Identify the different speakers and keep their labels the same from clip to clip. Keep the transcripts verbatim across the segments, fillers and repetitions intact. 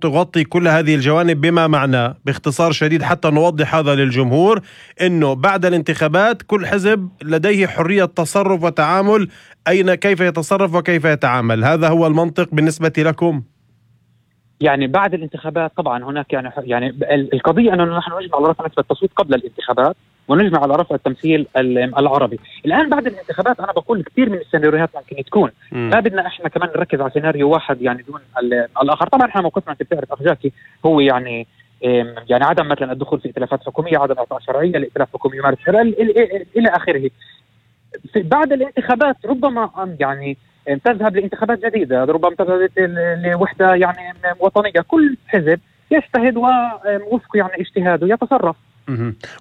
Speaker 1: تغطي كل هذه الجوانب، بما معناه باختصار شديد حتى نوضح هذا للجمهور أنه بعد الانتخابات كل حزب لديه حرية تصرف وتعامل أين كيف يتصرف وكيف يتعامل. هذا هو المنطق بالنسبة لكم؟
Speaker 2: يعني بعد الانتخابات طبعا هناك يعني يعني القضية أنه نحن نجمع على رفع نسبة التصويت قبل الانتخابات ونجمع على رفع التمثيل العربي. الآن بعد الانتخابات أنا بقول كثير من السيناريوهات ممكن تكون، ما بدنا إحنا كمان نركز على سيناريو واحد يعني دون الآخر. طبعا إحنا موقفنا أنت بتعرف أخ جاكي هو يعني يعني عدم مثلا الدخول في ائتلافات حكومية، عدم إعطاء شرعية لائتلاف حكومي يمارس إلى آخره. بعد الانتخابات ربما يعني تذهب لانتخابات جديدة، ربما تذهب لوحدة يعني وطنية، كل حزب يجتهد ووفق يعني اجتهاده يتصرف.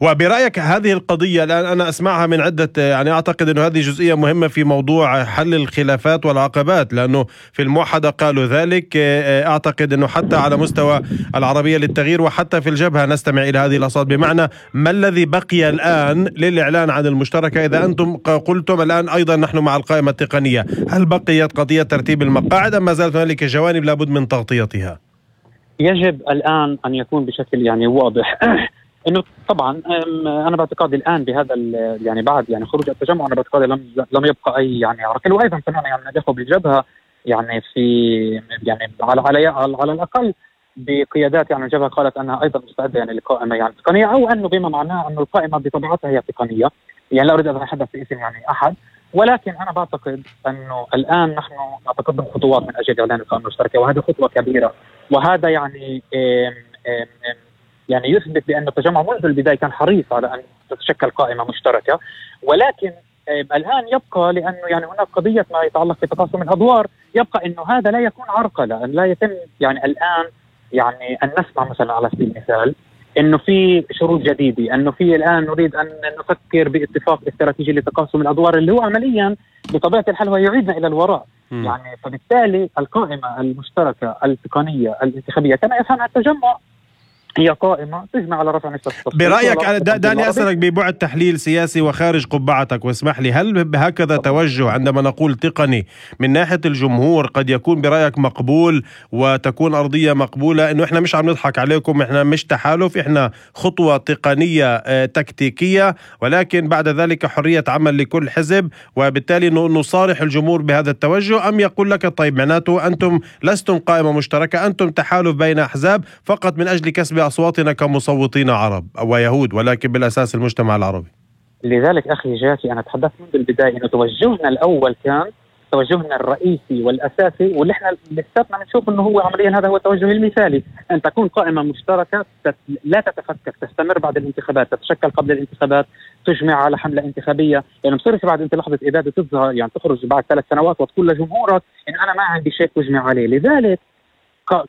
Speaker 1: وبرأيك هذه القضية الآن أنا أسمعها من عدة، يعني أعتقد أنه هذه جزئية مهمة في موضوع حل الخلافات والعقبات، لأنه في الموحدة قالوا ذلك. أعتقد أنه حتى على مستوى العربية للتغيير وحتى في الجبهة نستمع إلى هذه الأصوات. بمعنى ما الذي بقي الآن للإعلان عن المشتركة؟ إذا أنتم قلتم الآن أيضا نحن مع القائمة التقنية، هل بقيت قضية ترتيب المقاعد أم ما زالت هنالك جوانب لابد من تغطيتها؟
Speaker 2: يجب الآن أن يكون بشكل يعني واضح انه طبعا انا باعتقادي الان بهذا يعني بعد يعني خروج التجمع انا باعتقادي لم لم يبقى اي يعني عرقل. وايضا سمعنا يعني نجاحه بالجبهه يعني في يعني على على على الاقل بقيادات يعني الجبهه قالت انها ايضا مستعده يعني لقائمه يعني تقنيه، او انه بما معناه انه القائمه بطبيعتها هي تقنيه. يعني لا اريد ان اتحدث باسم يعني احد، ولكن انا بعتقد انه الان نحن نتقدم خطوات من اجل اعلان القائمه المشتركه، وهذه خطوه كبيره. وهذا يعني ام ام ام يعني يثبت بأن التجمع منذ البداية كان حريص على أن تتشكل قائمة مشتركة. ولكن الآن يبقى لأنه يعني هناك قضية ما يتعلق بتقاسم الأدوار، يبقى أنه هذا لا يكون عرقلة، أن لا يتم يعني الآن يعني أن نسمع مثلا على سبيل المثال أنه في شروط جديدة، أنه في الآن نريد أن نفكر باتفاق استراتيجي لتقاسم الأدوار اللي هو عمليا بطبيعة الحال هو يعيدنا إلى الوراء. م. يعني فبالتالي القائمة المشتركة التقنية الانتخابية كما يفهمها التجمع هي قائمة تجمع على رفع نسبة التصويت.
Speaker 1: برأيك داني أسألك ببعد تحليل سياسي وخارج قبعتك واسمح لي، هل بهكذا توجه عندما نقول تقني من ناحية الجمهور قد يكون برأيك مقبول وتكون أرضية مقبولة؟ إنه إحنا مش عم نضحك عليكم، إحنا مش تحالف، إحنا خطوة تقنية تكتيكية، ولكن بعد ذلك حرية عمل لكل حزب، وبالتالي نصارح الجمهور بهذا التوجه؟ أم يقول لك طيب معناته أنتم لستم قائمة مشتركة، أنتم تحالف بين أحزاب فقط من أجل كسب أصواتنا كمصوتين عرب أو يهود، ولكن بالأساس المجتمع العربي؟
Speaker 2: لذلك أخي جاكي أنا تحدثت منذ البداية أنه توجهنا الأول كان توجهنا الرئيسي والأساسي، واللي احنا لساتنا بنشوف أنه هو عمليا هذا هو التوجه المثالي، أن تكون قائمة مشتركة لا تتفكك، تستمر بعد الانتخابات، تتشكل قبل الانتخابات، تجمع على حملة انتخابية. يعني مصيرش بعد انت لحظة إبادة تظهر يعني تخرج بعد ثلاث سنوات وتقول لجمهورك إن أنا ما عندي شيء تجمع عليه. لذلك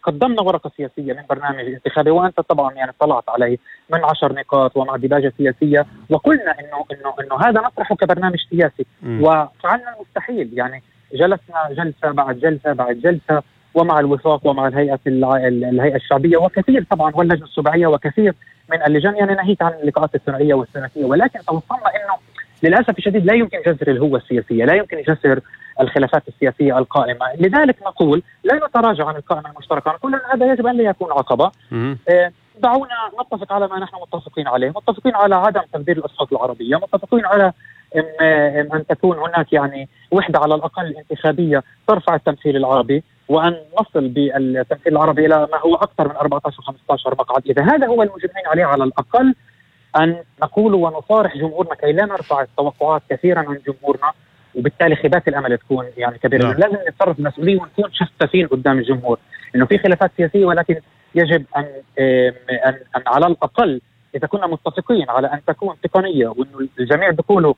Speaker 2: قدمنا ورقة سياسية من برنامج انتخابي، وأنت طبعا يعني طلعت عليه من عشر نقاط ومع ديباجة سياسية، وقلنا إنه إنه إنه هذا نطرحه كبرنامج سياسي. م. وفعلنا المستحيل، يعني جلسنا جلسة بعد جلسة بعد جلسة، ومع الوفاق ومع الهيئة الهيئة الشعبية وكثير طبعا واللجنة السبعية وكثير من اللجان، يعني ناهيك عن اللقاءات الثنائية والسنوية. ولكن توصلنا إنه للأسف الشديد لا يمكن جسر الهوة السياسية، لا يمكن جسر الخلافات السياسية القائمة. لذلك نقول لا نتراجع عن القائمة المشتركة، نقول أن هذا يجب أن لا يكون عقبة. آه دعونا نتفق على ما نحن متفقين عليه، متفقين على عدم تبديل الأصوات العربية، متفقين على إن, أن تكون هناك يعني وحدة على الأقل انتخابية ترفع التمثيل العربي، وأن نصل بالتمثيل العربي إلى ما هو أكثر من أربعة عشر خمسة عشر مقعد. إذا هذا هو المجمعين عليه على الأقل أن نقول ونصارح جمهورنا كي لا نرفع التوقعات كثيرا عن جمهورنا، وبالتالي خيبات الأمل تكون يعني كبيرة. نعم. لازم نتصرف مسؤولين ونكون شفافين قدام الجمهور إنه في خلافات سياسية، ولكن يجب أن, أن, أن على الأقل إذا كنا متفقين على أن تكون تقنية وإنه الجميع بيقولوا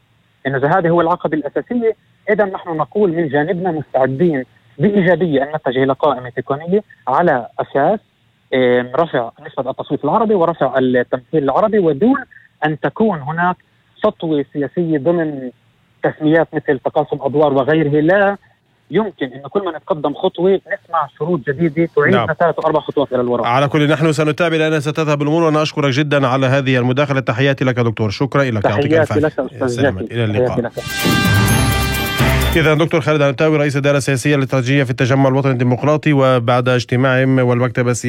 Speaker 2: إنه هذه هو العقبة الأساسية، إذا نحن نقول من جانبنا مستعدين بإيجابية أن نتجه إلى قائمة تقنية على أساس رفع نسبة التصويت العربي ورفع التمثيل العربي، ودون أن تكون هناك سطوة سياسية ضمن تسميات مثل تقاسم أدوار وغيره. لا يمكن أن كل ما نتقدم خطوة نسمع شروط جديدة تعيدنا نعم. ثلاث وأربع خطوات إلى الوراء.
Speaker 1: على كل نحن سنتابع لأنها ستذهب الأمور، وأنا أشكرك جدا على هذه المداخلة. تحياتي لك دكتور، شكرا لك.
Speaker 2: تحياتي لك أستاذ جاكي.
Speaker 1: إلى اللقاء. إذا دكتور خالد عنتاوي رئيس الإدارة السياسية الاستراتيجية في التجمع الوطني الديمقراطي، وبعد اجتماعهم والمكتب السياسي